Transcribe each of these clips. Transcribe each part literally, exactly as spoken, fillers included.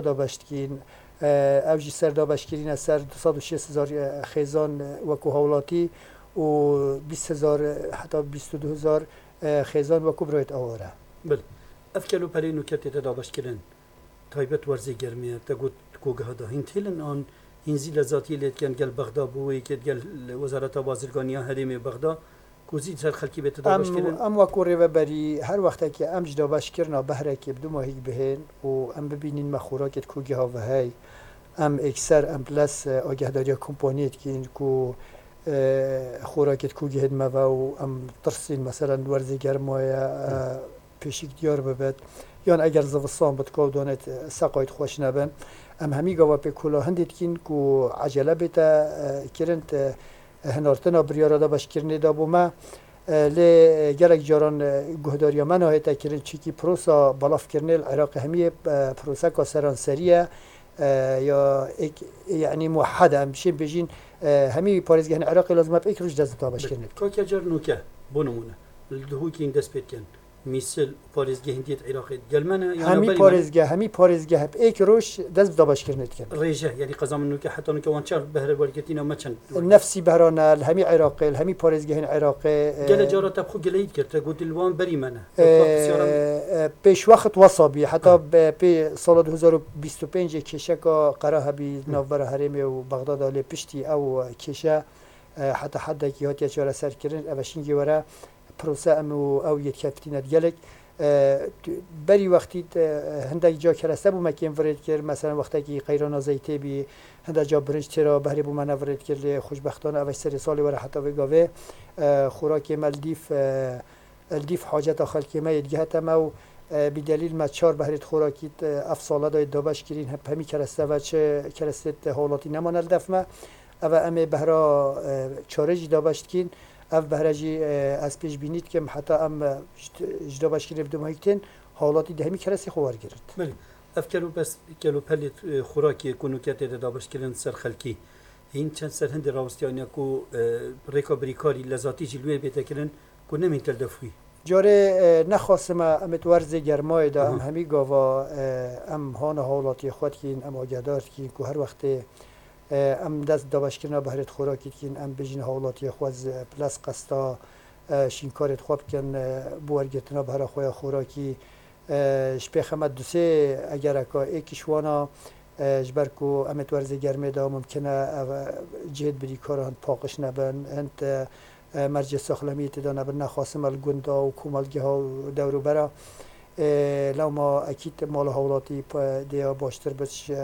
dabeş dikîn. E, ew jî ser dabeşkirîne ser du sed û şêst hezar, e, xêzan, e, wekû hawlatî û bîst hezar, e, heta bîst û du hezar, e, xêzan wekû birayet aware. Bil. Ev kelûpelê nûke tête dabeşkirin. Taybet werzê germê ye. Te got kogeha da hîn têlin an hîn zî lezatiyê lê dikin gel Bexda bi wê yekê gel Wezareta Bazirganiya Herêmê Bexda ku zî ser xelkî bête Em, dabeşkirin. Em wekû rêveberî her wextekî em ji dabeşkirina behrekê bi du mahîk bihên û em bibînîn me xorakê di kogeha ve hey. Em êkser em ples, e, agehdariya kompaniyê dikîn ku, e, xorakê di kogehê di me ve û em tirsîn, meselen werzê germa ye, e, pêşîk diyar bibit. Yan eger zivistan bit, ka danêt, e, seqayt xweş nebin. Em hemî gava pê kola hindê dikîn ku ecele bête, e, kirin, e, hinartina biryara dabeşkirinê da bo me. E, lê, e, gelek caran, e, guhdariya me nahête kirin, çikî prosa belavkirinê li Iraqê hemiyê, e, proseka seranserî ye, e, ya êk, yanî muwehhed e, em bişên bêjîn, e, hemî parêzgehên Iraqê lazim e bi êk roj dest bi dabeşkirinê bikin. Ka car nûke, bo nimûne, li Duhokîn dest pê dikin. Mîsil, parêzgehên dî yê Iraqê gel me ne, yan Hemî berî me ne? Parêzgeh, hemî parêzgeh bi êk roj dest bi dabeşkirinê dikin. Rêje, yanî qeza min nûke, heta nûke wan çar behre wergirtîna me çend wergirt? Nefsî behra ne, li hemî Iraqê, li hemî parêzgehên Iraqê, e, Gele cara te bi xwe gileyî dikir, te got li wan berî me ne. E, Te bi xwe pisyara e, pêşwext wesa bî, heta He. be-, pê sala du hezar û bîst û pêncê kêşeka qera hebî Hı. navbera herêmê û Bexdada lê piştî ew kêşe, e, heta heddekî hatiye çareserkirin, ev şingê were. Pirose em û ew yê dikeftîne di gelek. E, tu-, berî wextî, e, hindek ca kereste bû me kêm virê dikir. Meselen wextekî qeyrana zeytê bî, hinde ca birinc têra behrê bû me nevirê dikir, lê xweşbextane ev serê salê were heta vê gavê, e, xorakê me li dîf, e, li dîf haceta xelkê me yê digihete me û, e, bîdelîl me çar behrê di xorakî, e, ev sala de dabeş kirîn, hep hemî kereste ve çi kerestê hawlatî nemane li def me. Ev e em ê behra, e, çarê jî dabeş dikîn. Ev behre jî, e, ez pêşbînî dikim, heta em, e, ji, ji dabeşkirinê bi dumahîk tên, hawlatî di hemî kerestê xwe wergirt. Belê. Ev kel û pes-, kel û pelê, e, xorakê ku nûke tê de dabeşkirin ser xelkî, hîn çend ser hindê rawestiyaniya ku, e, rêka birîkarî lezatî jî li wê bête kirin ku nemîn tel def wî. Carê, e, nexasime em ê di werzê germayê de em Aha. hemî gava, e, em hana hawlatiyê xwe dikîn, em agehdar dikîn ku her wextê E, em dest dabeşkirina behrê di xorakî dikin, em bêjin hawlatiyê xwe z-, ples qesta, e, şînkarê xwe bikin, e, bi wergirtina behra xwe ya xorakî. E, ji pêxe me du sê egereka êk ji wana, e, ji ber ku em ê di werzê germê de mumkin e, ev, e, cihêd birîkar hind paqij nebin, hind, e, e, mercê saxlemiyê tê de nebin, nexwasim e li gunda û komelgeha û dewrûbera. E, lewma ekîd mala hawlatî pe-, dê ya baştir bit ji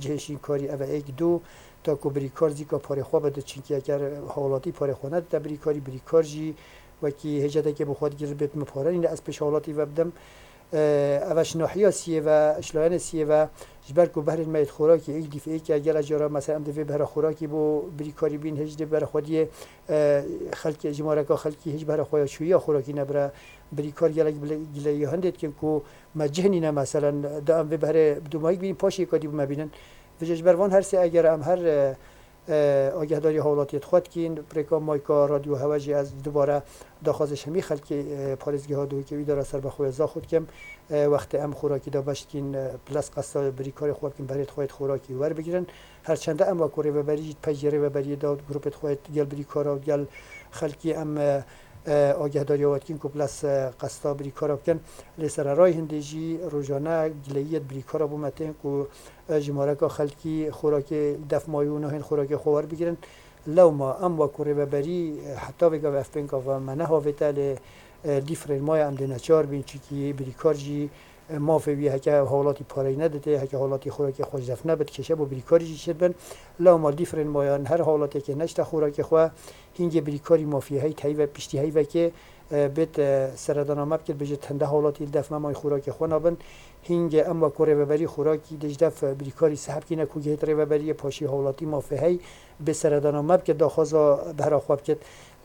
cihê şînkarî ev e êk du, ta ku birîkar zîka parê xwe bide, çinkî eger hawlatî parê xwe nedite birîkarî, birîkar jî wekî hêcedekê bi xwe digire bêt min pare nîne ez pêş hawlatî ve bidim. E, ev e ji nahiya siyê ve, ji layenê siyê ve, ji ber ku behrên me yê xorakî êk dîf êk e, gele cara mesela em dê vê behra xorakî bo birîkarî bîn, hêj dê bere xwediyê, e, xelkê, jimareka xelkî hêj behra xwe ya çûyî ya xorakî nebire. Birîkar gelek bile, gileyiya hindê dikin ku me cih nîne, meselen, da em vê behrê bi dûmayî bînin, paşê yeka dî bi me bînin. Vêce ji ber van her sê eger em her, e, e, agehdariya hawlatiyê xwe dikîn, bi rêka mayka radyo hewe jî ez dubare daxwazê ji hemî xelkê, e, parêzgeha Duhokê û îdara serbexwe ya Zaxo dikim. E, wextê em xorakî dabeş dikîn, e, ples qesta birîkarê xwe bikin, behrê xwe yê xorakî werbigirin. Her çende em wekû rêveberî jî di pey jê rêveberiyê de, grûpê xwe yê gel birîkara û gel xelkî em, e, e, agehdariya we dikîn ku ples, e, qesta birîkara bikin. Lê sererayî hindê jî rojane gileyiyê di birîkara bo me tên ku, e, jimareka xelkî xorakê li def mayî û nahên xorakê xwe werbigirin. Lewma em wekû rêveberî, e, heta vê gavê ev pênka ve me nehavête, lê, e, dîf rênmaya em dê neçar bîn, çikî birîkar jî, e, mafê wî heke hawlatî pareyî neditê, heke hawlatî xorakê xwe ji def nebit, kêşe bo birîkarî jî çêdibin. Lewma dîf rênmayan her hawlatekê neşte xorakê xwe, hingê birîkarî mafî heyt heyve, piştî heyvekê, e, bêt, e, seredana me bikir, bêje hinde hawlatî li def me mayî xorakê xwe nabin. Hingê em wekû rêveberî xorakî dê ji def, e, birîkarî seheb kîne ku gihêt rêveberiyê paşî hawlatî mafê hey bê seredana me bike, daxwaza behra xwe bikit.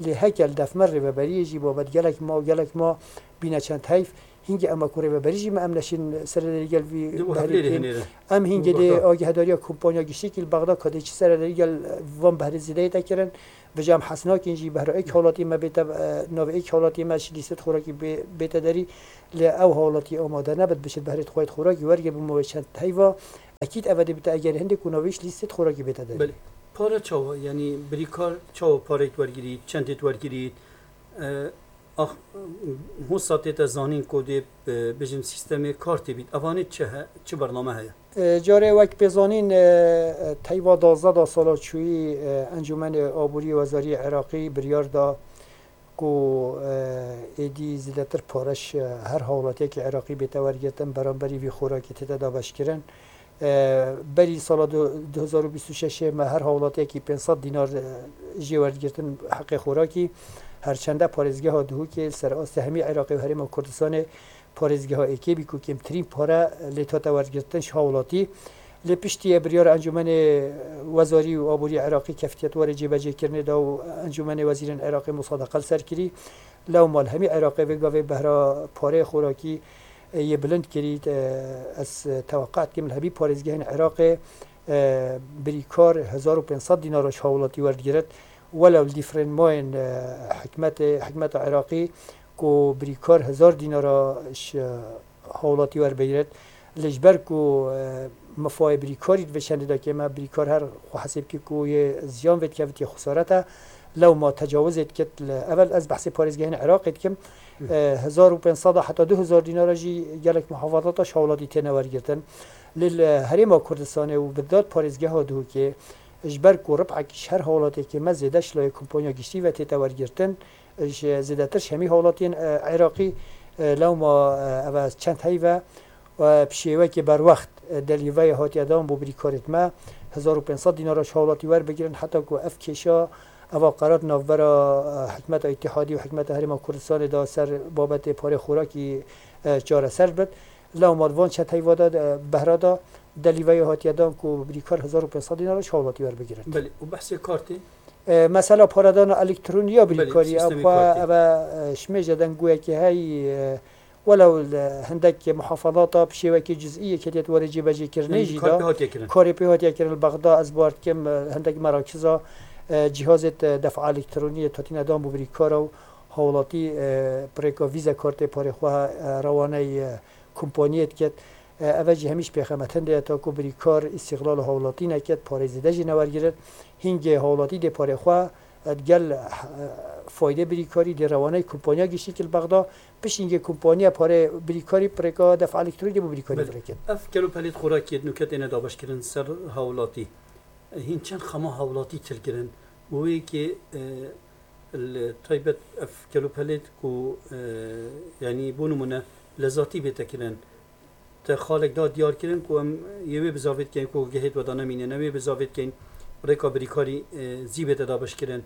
Lê heke li def me rêveberiyê jî babet gelek ma û gelek ma bîne çend heyf. Hingê em wekû rêveberî jî me em neşên serederî gel vî Di û behrî hevlêrê bikîn. Hinêrin. Em hingê Û dê Bexda. Agehdariya kompanya giştî kî li Bexda ka dê çi serederî gel van behrê zêdeyê te kirin. Vêca em hes nakin jî behra êk hawlatî me bête, e, navê êk hawlatî me ji lîstet xorakî bê-, bête derî. Lê ew hawlatî amade nebit, bişit behrê xwe yê xorakî wergê bû me wê çend heyva. Ekîd eve dê bite eger hindê ku navîş lîstê xorakî bête derê. Belê. Pare çawa? Yanî birîkar çawa pareyê wergirît, çendê wergirît? E, ax, hûn sa tête zanîn ku dê, e, bijin sîstemê kar tê bît. Evanê çi he, çi bername heye? E, carê wek pê zanîn, e, e, teyva duwazdeh da sala çûyî, e, Encûmenê Aborî Wezarî Iraqî biryar da ku, e, êdî zêdetir pare ji her hawlatiyekî Iraqî bête wergirtin, beramberî vî xorakî tête dabeşkirin. E, berî sala du-, du hezar û bîst û şeş me her hawlatiyekî pênc sed dînar, e, jê werdigirtin heqê xorakî. Her çende parêzgeha Duhokê li ser astê hemî Iraqê û Herêma Kurdistanê parêzgeha êkê bî ku kêmtirîn pare lê tate wergirtin ji hawlatî. Lê piştî ye biryara Encûmenê Wezarî û Aborî Iraqî keftiye di warê cêbecêkirinê de û Encûmenê Wezîrên Iraqê musadeqe li ser kirî. Lewma li hemî Iraqê vê gavê behra pareyê xorakî, e, yê bilind kirî. E, ez teweqe dikim li hemî parêzgehên Iraqê, e, birîkar hezar û pênc sed dînar ji hawlatî werdigirit. Welew li dîfrên mayên, e, hikmetê, hikmeta Iraqî ku birîkar hezar dînara ji hawlatî werbigirit. Lê ji ber ku, e, mifayê birîkarî di vê çendê de kêm e, birîkar her xwe hesê bike ku yê ziyan vê dikevit yê xesaret e. Lewma tecawizê dikit li, evel ez behsê parêzgehên Iraqê dikim. E, hezar û pênc sed heta du hezar dînara jî gelek muhafazata ji hawlatî têne wergirtin. Lê li Herêma Kurdistanê û bi dat parêzgeha Duhokê ji ber ku rib'ek ji her hawlatekê me zêde ji layê kompanya giştî ve tête wergirtin, ji zêdetir ji hemî hawlatiyên, e, Iraqî, e, lewma, e, ev e çend heyv e, e, bi şêwekê berwext, e, delîveyê hatiye dan bo birîkarêt me, hezar û pênc sed dînara ji hawlatî werbigirin, heta ku ev kêşa, eva qerat navbera, e, hikmeta Îtîhadî û hikmeta Herêma Kurdistanê de ser babetê parê xorakî, e, çareser bit. Lewma di van çend heyva de, e, behra de delîveyê hatiye dan ku birîkar hezar û pênc sed dînara ji hawlatî werbigirin. Belê, û behsê kar tê? E, mesela paredana elektronî ya Belê, birîkarî, ew sîstemê xwe kar tê. Eve, e, ji mêje dengûyekê heyî, e, welew li hindek muhafazata bi şêwekî cizî yekê tê di warê cêbecêkirinê Yanî jî kar de pê hatiye kirin. Karê pê hatiye kirin li Bexda, ez bawer dikim, e, hindek merakiza, e, cîhazê, e, defa elektronî yê tatîne dan bo birîkara û hawlatî, e, bi rêka vîze kartê parê xwe, e, rewaney, e, kompaniyê diket. E, eve jî hemî ji pêxemetin de ye, ta ku birîkar îstîxlal û hawlatî neket, parê zêde jî newergirin. Hingê hawlatî dê parê xwe, e, digel, e, faydê birîkarî dê rewaney kompanya giştî ki li Bexda, pişt hingê kompanya parê birîkarî bi rêka defa elektronî dê bo birîkarî Belê. Fireket. Ev kelopelêt xorakiyê di nûke têne dabeşkirin ser hawlatî. Hîn çend xema hawlatî til kirin û wê yekê, e, li taybet ev kelopelêt ku, e, yanî bo nimûne lezatî bête kirin. Te xalek da diyar kirin ku em yê wê bizavêt kein ku gehêt we da nemînin, em wê bizavêt kein rêka birîkarî, e, zî bête dabeşkirin.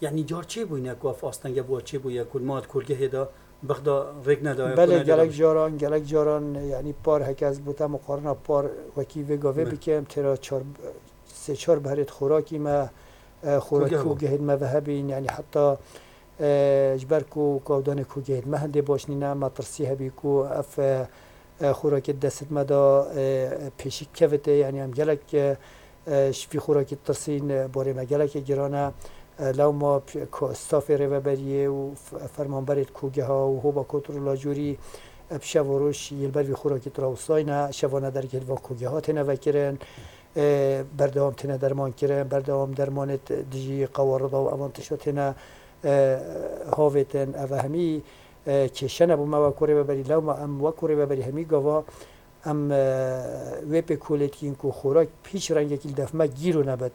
Yanî car çêbûyne ku ev astenge bû çêbûye ku ma di kolgehê de Bexda rêk nedaye ku Belê nede gelek dabeşkirin. Caran, gelek caran, yanî par heke ez bo te muqarina par wekî vê gavê Belê. Bikim, têra çar, sê çar berêt xorakî me, e, xorakî Kolgeh bû. Û gehên me ve hebîn, yanî heta, e, ji ber ku kawdanê ku gehên me hindê baş nîne, me tirsî hebî ku ev, e, e, xorakê destê me de, e, pêşî kevite, yanî em gelek, e, e, ji vî xorakî tirsîn, e, borê me gelekê giran e. E, lewma p-, ko-, stafê rêveberiyê û f-, fermanberê kogeha û hoba kontrola jorî, e, bi şev û roj yê li ber vî xorakî dirawsayne, şevane dergehê li van kogeha têne vekirin. E, berdewam têne derman kirin, berdewam dermanê t-, dijî qewarida û evan tişta têne, e, havêtin. Ev hemî, e, kêşe ne bo me wek rêveberî. Lewma em wek rêveberî hemî gava em, e, wê pê kolê dikîn ku xorak bi hîç rengekî li def me gîro nebit.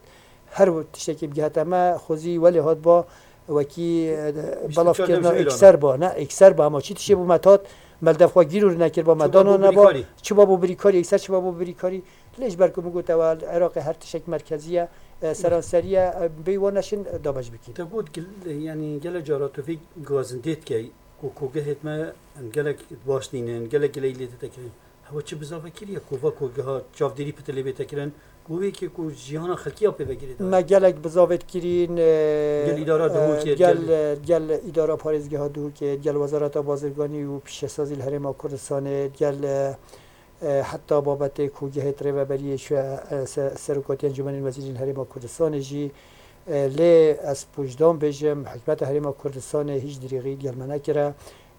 Her tiştekî bigihete me, xwezî welê hat ba, wekî, e, Bîst û çar belavkirina demjimêr ana. Ekser ba, ne, ekser ba, ama çi tiştê bo me tat, me li def xwe gîro nekir ba, me Çi ba dana bo neba, birîkarî? Çi ba bo birîkarî, ekser çi ba bo birîkarî. Lê ji ber ku min got ew li Iraqê her tiştek merkezî ye, e, seranserî ye, e, bê wan neşin, e, dabeş bikîn. Te got gil-, yanî gelek cara tu vê gazindê dikey ku kogehêt me gelek baş nînin, gelek gileyî lê dide kirin. Hewa çi bizave kiriye ku va kogeha çavdêrî pitilê bête kirin, ku wê yekê ku jiyana xelkî ya pê vegirê daye. Me gelek bizavêt kirîn, e, Gel îdara e, Duhokê, gel, gel e, gel îdara parêzgeha Duhokê, gel Wezareta Bazirganî û Pîşesazî li Herêma Kurdistanê, gel, e, e, heta babetê ku gehêt rêveberiyê şu, e, se-, Serokatiya Encûmenên Wezîrên Herêma Kurdistanê jî, e, lê ez pojdan bêjim, hikûmeta Herêma Kurdistanê hîç dirêxî gel me nekire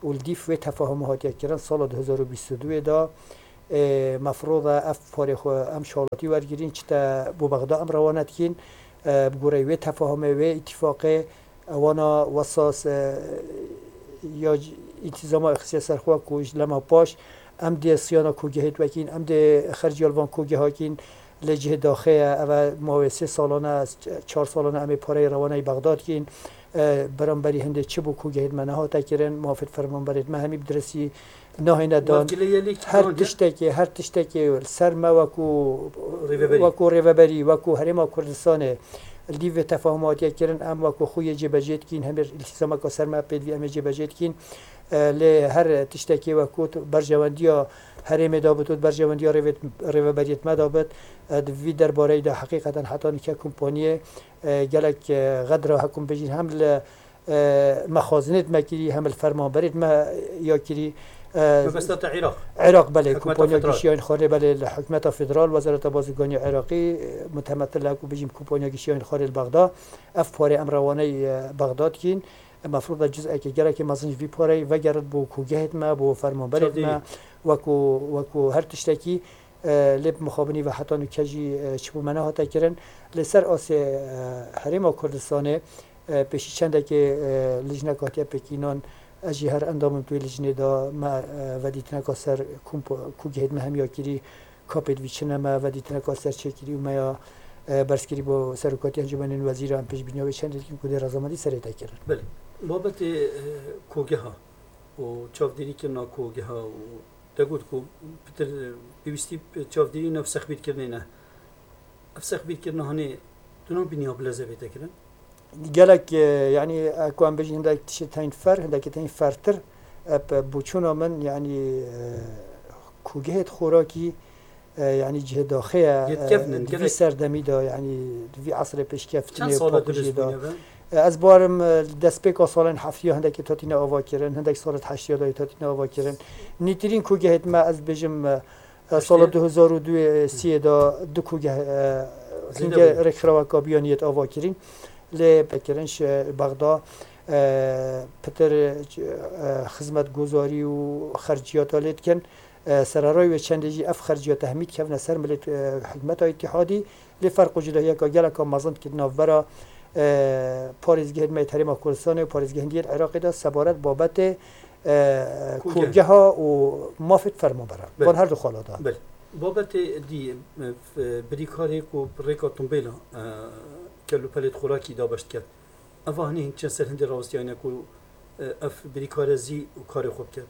û li dîf wê tefahuma hatiye kirin sala du hezar û bîst û duyê de, Ê, mefroda ev parê xwe em şalatî wergirîn, çite bo Bexda em rewane dikîn, e, bi goreyê wê tefahumê, wê îtîfaqê, ewana wesas, e, ya c-, întîzama xistiye ser xwe ku ji lema paş em dê siyana kogehê wekîn, em dê xerciya li van kogeha kîn, lê cihê daxê ye, ev e mawê sê salane, ez ç-, çar salane em ê pareyê rewaneyê Bexda dikîn. E, beramberî hindê çi bû kogehê me nehate kirin, mafê fermanberê me hemî bi diristî nahêne dan. Her tiştekê, her tiştekê li ser me wekû, wekû rêveberî, wekû Herêma Kurdistanê li dîv vê tefahuma hatiye kirin, em wekû xwe yê cêbecê dikîn, hemî îltîzameka ser me pêdivî em ê cêbecê dikîn. E, lê her tiştekê wekû tu berjewendiya herêmê da bit û berjewendiya rêvê-, rêveberiyê me da bit. E, di vî derbareyê de heqîqeten heta nûke kompaniyê, e, gelek, e, xedra hekum bêjin hem li e, mexazinêt me kirî, hem li fermanberêt me ya kirî. E, Mebesta te Iraq. Iraq, belê. Hikûmeta Kompanya Federal. Gişiyayên Xwarê, belê, li Hikûmeta Federal, Wezareta Bazirganiya Iraqî, e, mutemetil e ku bijîm Kompanya Gişiyayên Xwarê li Bexda. Ev parê em rewaney, e, Bexda dikîn. E, mefrûda cizekê gelekê mezin ji vî pareyê vegerit bo kogehêt me, bo fermanberêt me, wekû, wekû her tiştekî, e, lê bi mixabinî ve heta nûke jî, e, çi bo me nehate kirin. Li ser asê, e, Herêma Kurdistanê, E, pêşî çendekê, e, lijnek hatiye pêkînan, ez jî her endamim tu wê lijnê de me, e, vedîtineka ser kompo-, kogehêt me hemiya kirî, kapêt vî çine me vedîtineka ser çêkirî û me ya, e, berzkirî bo Serokatiya Encûmenên Wezîran, pêşbîniya wê çendê dikîm ku dê rezamendî serê te kirin. Belê. Babetê, e, kogeha û çavdêrîkirina kogeha û te got ku pitir, e, pêwîstî çavdêrî nav sexbîrkirinê ne. Ev sexbîrkirina hanê tu nabîniya bi leze bête kirin? Gelek, e, yanî, e, ku em bêjin hindek tiştê tên fer, hindekî tên fertir, e, bi boçûna min, yanî, e, kogehêt xorakî, e, yanî cihê daxê ye, Yê e, kevn in, di vî gelek serdemî de, yanî di vî esrê pêşkeftinê, Çend sala tu paqijê de. Bêjbûnê be? E, ez barim, e, destpêka salên heftî ya hindekî tatîne ava kirin, hindek salê heştî ya de tatîne ava kirin. Nîtirîn kogehêt me, ez bêjim, e, E, sala du hezar û duyê, e, siyê de du kogeh, e, Zêde hingê bû. Rêkxiraweka Biyaniyê ava kirîn. Lê pekirin ji Bexda, e, pitir, e, xizmetguzarî û xerciyata lê dikin. E, sererayê wê çendê jî ev xerciyata hemî dikevne ser milê, e, hikûmeta îtîhadî. Lê ferq û cudahiyeka geleka mezin dike di navbera, e, parêzgehên me yê Herêma Kurdistanê û parêzgehên diyê Iraqê de sebaret babetê, e, Kogeha. Kogeha û mafê fermanberan. Belê. Van her du xala de. Belê. Babetê dî, e, f-, birîkarê ku rêka tumbêla, e, kelûpelêt xorakî dabeş diket. Eva hinî hin çend ser hindê rawestiyayne ku, e, ev birîkare zî û karê xwe biket.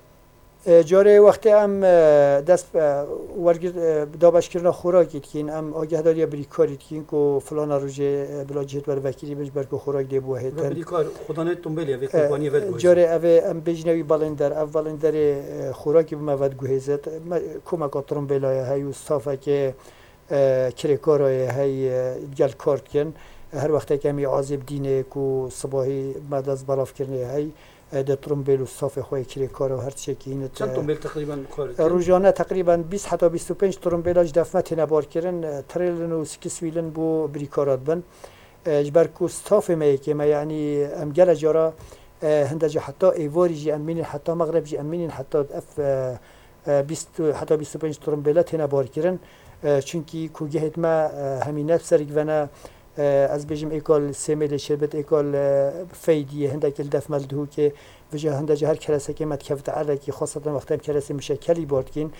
E, carê wextê em, e, dest, e, wergir, e, dabeşkirina xorakî dikîn, em agehdariya birîkarî dikîn ku filana rojê, e, bila cihêt were vekirî bin ji ber ku xorak dê biwehêtin. Ve birîkar, xudanê tumbêlê vê E, kompaniyê ve diguhêzin. Carê ev ê em bêjine wî balênder, ev balênderê, e, xorakî bi me ve diguhêzit. Me, komeka tumbêla ye hey û stafekê, e, kirêkara ye hey, e, gel kar dikin. Her wextek em ê azê bidînê ku sibahî me dest belavkirinê hey. E, de trumbêl û stafê xwe yê kirêkar û her tiştekî hîn e. Çend trumbêl teqrîben bi kar dikin? E, rojane teqrîben bîst heta bîst û pênc trumbêla ji def me têne barkirin. E, trêlin û skiswîlin bo birîkara dibin. E, ji ber ku stafê me yekê me, yanî em gele cara, e, hinde ca heta êvarî jî em mînin, heta mexreb jî em mînin, heta ev, e, e, bîst, heta bîst û pênc trumbêla têne barkirin. E, çunkî kûgehêt me, e, hemî ne bi ser givene, e, ez bêjim êka li Sêmêlê çêbit, êka li, e, Feydiyê, hindekî li def me li Dihokê, vêca hinde ca her keresekê me dikevite erdekî, xweseten wextê em keresê mişekelî bar dikîn.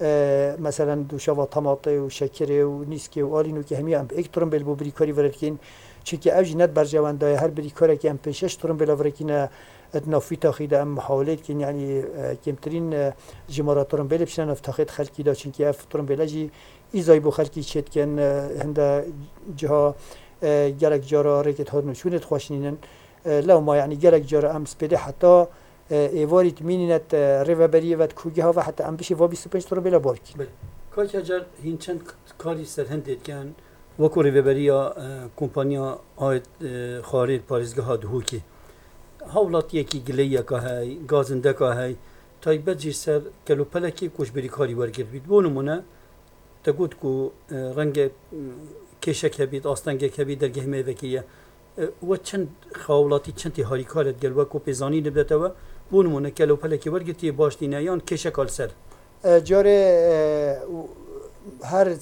E, meselen dûşava tematê û şekirê û nîskê û alînokê hemiya em bi êk trumbêl bo birîkarî vire dikîn. Çunkî ev jî ne di berjewenda ye, her birîkarekî em pênc şeş trumbêla virekîne, di nav vî taxî de em muhawelê dikin, yanî, e, kêmtirîn, e, jimara trumbêlê biçine nav taxê di xelkî de, çunkî ev trumbêle jî îzayî bo xelkî çêdikin, e, hinde ciha, e, gelek cara rêkê di hat nûçûnê dixweşînin. E, lewma, yanî gelek cara em spêdê heta, e, êvarî dimînîne di rêveberiyê ve di kûgeha ve heta em bişê va bîst û pênc trumbêla bar kî. Belê. Kak Hacer, hîn çend karî ser hindê dikin, wekû rêveberiya, e, kompanya Ayet, e, Xarê parêzgeha Duhokê. Hawlatiyekî gileyiyeka hey, gazindeka hey, taybet jî ser kelopelekê ku ji birîkarî wergirt bît. Bo nimûne, te got ku, e, renge, m, kêşek hebît, astengek hebît, dergehê me vekiriye. E, we çend hawlatî, çend tê harîkar e digel we ku pêzanî bidete we? Bo nimûne, kelopelekê wergirtiye baş tîne yan kêşeka li ser? E, carê, e, her